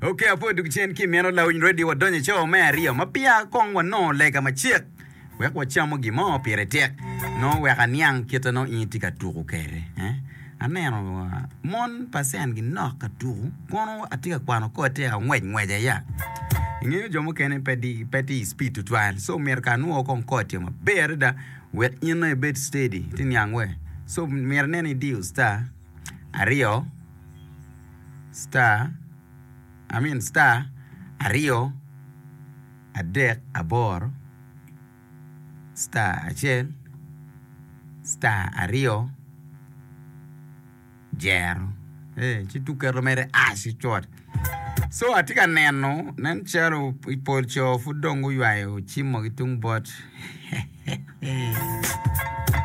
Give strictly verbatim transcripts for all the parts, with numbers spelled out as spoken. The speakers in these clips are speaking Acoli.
Ok, apwoyo dug cen ki meno lawiny radio wadonyo i cawa me aryo ma peya kong wanongo lega macek wek wacamo gin mo pire tek nongo wek aniang kite nongo in itye ka tuko kwede eh? Aneno uh, mon percent ginok ka tuko kono atye ka kwano kor tye ka ngwec ngwec ya ingeyo jo mukene pe di pe tye i speed tutwal so myero ka anwo kong kor tye maber adada wek in nongo ibed steady ti niang we so myero inen ni idiyo star aryo star I mean star aryo adek aboro star acel star aryo jero eh ci tuk keto mere ash cut so atye ka neno nen calo i pol co pud dong guywayo cimo ki tung bot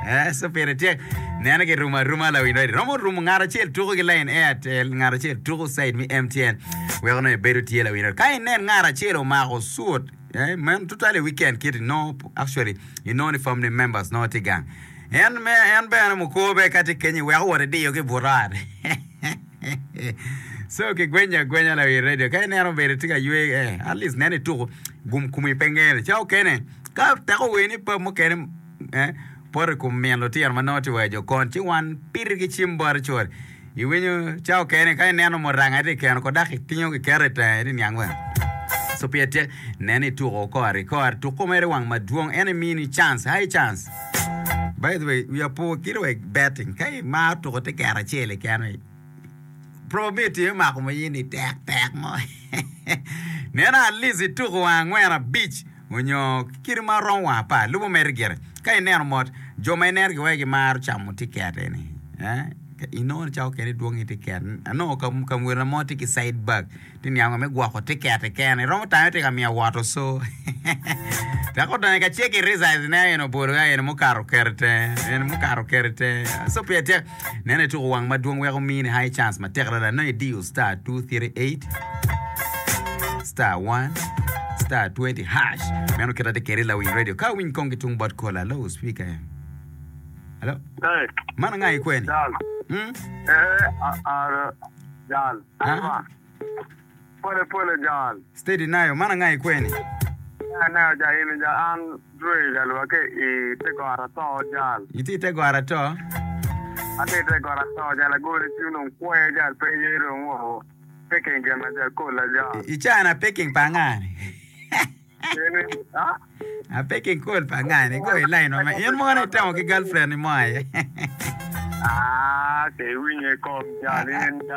Eh, so pire tek neno girumo aruma lawiny radio romo rumo ngat acel tuko ki line Airtel ngat acel tuko side mi M T N weko nongo ibedo tye lawiny radio ka inen ngat acel omako suit eh, man tutwal i weekend kit inongo actually inongo ni family members nongo tye gang en me en bene mukwo be ka tye kenyo weko wot idiyo ki but ot so kigwenyo agwenya lawiny radio ka ineno obedo tye ka ywe eh, at least neno ituko gum kumi pe ngene ca okene ka teko weni pa mukene eh, poto i kom min lutino ma nongo tye weyo jo kon ci wan piri ki cim bote col iwinyo ca okene ka ineno muranga tye keno ko dok itingo kiketo i tenge ti niang wene so pire tek neno ituko kore kore tuko mere wang madwong en imini chance high chance. By the way, wiya po kit wa betting ka imaro tuko te kero acel keken probability me mako mayini tek tek mo neno at least ituko wang angwen abic onyo kit ma romo wang apar lubo mere gire ka ineno mot jo ma ineno giweko gimaro camo tiket eni eh inongo ni cawa okene idwongo i tiket anongo ka welo mo tye ki side bag tye niango me gwoko tiket keken iromo tame tye ka miyo woto so dok odonyo ka cek i results ne en obolo ka en mukato oketo tenge en mukato oketo tenge so pire tek neno ituko wang madwong weko mini high chance matek adada nongo idiyo star two three eight star one star twenty hash meno kita tye kede lawiny radio ka winy kong ki tung bot kola. Hello, speaker, hello. Hey, man anga ikweni? Jal. Hmm? Eh, a- a- Jal. Ah? Pole pole Jal. Steady nayo man anga ikweni? Ane ja ini ja an dwe jal wa ke i te gora to Jal. Iti te gora to? Ate te gora to Jal agole ci nong kwe Jal pe yero ngo. Peking gena jal kola Jal. Icana peking pa angani? Ini, ah? A peking kol pa angani go i line ma in mono itemo ki girlfriend ni mo aye. Ah, ke winye kom Jal in Jal.